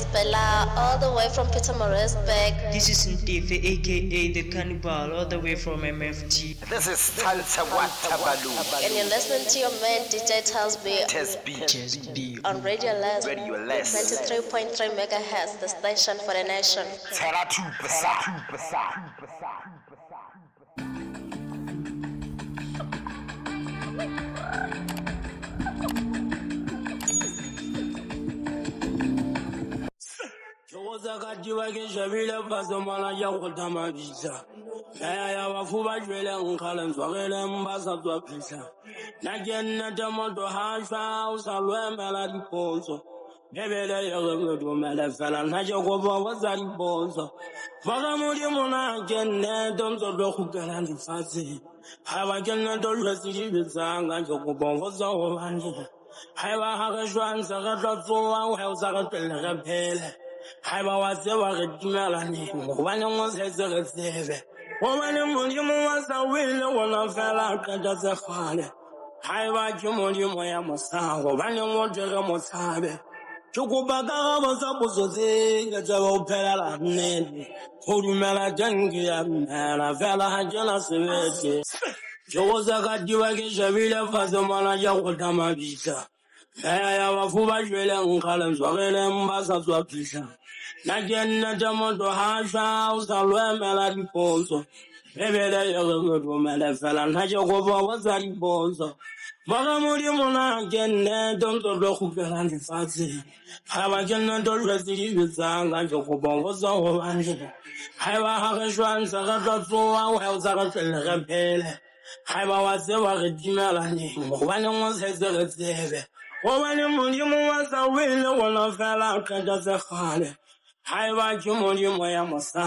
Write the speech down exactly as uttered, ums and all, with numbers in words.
Bella, all the way from Pietermaritzburg. This is Ntefe, aka The Cannibal, all the way from M F T. This is Talsa Watabalu. And you're listening to your man D J Telsby. Tesby. Tesby. On Radio Less. Radio Less. ninety-three point three megahertz, the station for the nation. Tera two percent. Two percent. Two percent. Zakati ke shebile fatshe mona ke kgotha mabitla. Meya ya bafu ba jwele nkgale ntswagele mba sa tswa phihla. Nna ke nnete motho ha shwa o sa lo emela dipotso. Bebele e re re dumele fela nna ke kopa go tsa dipotso. Baka Modimo na ke nnete o ntso tlo kgutlela lefatsheng. Ha ba ke nnete o jwetse dibe tsanga ke kopa go tsa hobane. Ha eba ha re shwa ntse re tlo tsoha, ha o sa re tlohelle re phele. Haeba wa tseba re dumelane, hobaneng o setse re tsebe. Hobane Modimo wa sa wele ona fela qeta tse kgale. Haeba ke Modimo ya mosa, hobaneng o thwe re mo tshabe. Ke kopa karabo tsa potso tse ke tsebe ho phelela nnete. Ho dumela teng ke ya dumela, fela ha ke na sebete. Ke go sakatiwa ke shebile fatshe mona ke kgotha mabitla. Meya ya bafu ba jwele nkgale ntswagele mba sa tswa phihla. Nna ke nnete motho ha shwa o sa lo emela dipotso. Bebele e re re dumele fela nna ke kopa go tsa dipotso. Baka Modimo na ke nnete o ntso tlo kgutlela lefatsheng. Ha ba ke nnete o jwetse dibe tsanga ke kopa go tsa hobane. Ha eba ha re shwa ntse re tlo tsoha, ha o sa re tlohelle re phele. Ha eba wa tseba re dumelane, hobaneng o setse re tsebe. Hobane Modimo wa sa wele ona fela qeta tse kgale. Haeba ke Modimo ya mosa.